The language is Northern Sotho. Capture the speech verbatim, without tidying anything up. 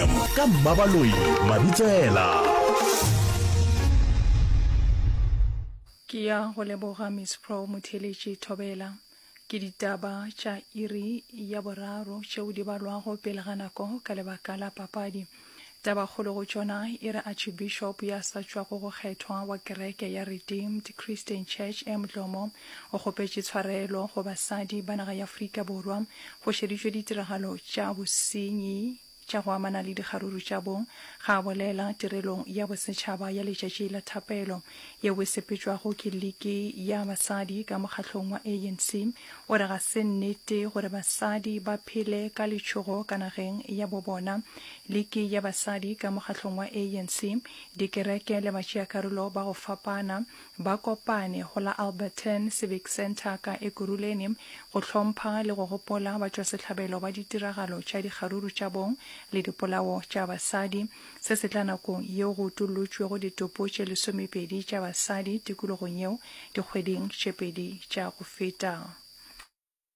F M ka Mmabaloi Mabitsela. Ke ya go leboga Miss Pro Motheeletši Thobela. Ke ditaba tša iri ya boraro tšeo di balwago pele ga nako ka lebaka la papadi. Tabakgolo go tšona e re Archibishop ya sa tšwago go kgethwa wa kereke ya Redeemed Christian Church M Dlomo o kgopetše tshwarelo go basadi ba naga ya Afrika Borwa go šeditšwe ditiragalo tša bosenyi tša go amana le dikgaruru tša bong ga a bolela tirelong ya bosetšhaba ya letšatši la thapelo yeo e sepetšwago ke liki ya basadi ka mokgahlong wa A N C. O re ga se nnete gore basadi ba phele ka letšhogo ka nageng ya bo bona. Liki ya basadi ka mokgahlong wa A N C, dikereke le batšeakarolo ba go fapana ba kopane go la Alberton Civic Centre ka Ekurhuleni go hlompha le go gopola batšwasehlabelo ba ditiragalo tša dikgaruru tša bong le dipolao tša basadi. Se se tla nakong yeo go utollotšwego ditopo tše lesomepedi tša basadi tikologong yeo dikgweding tše pedi tša go feta.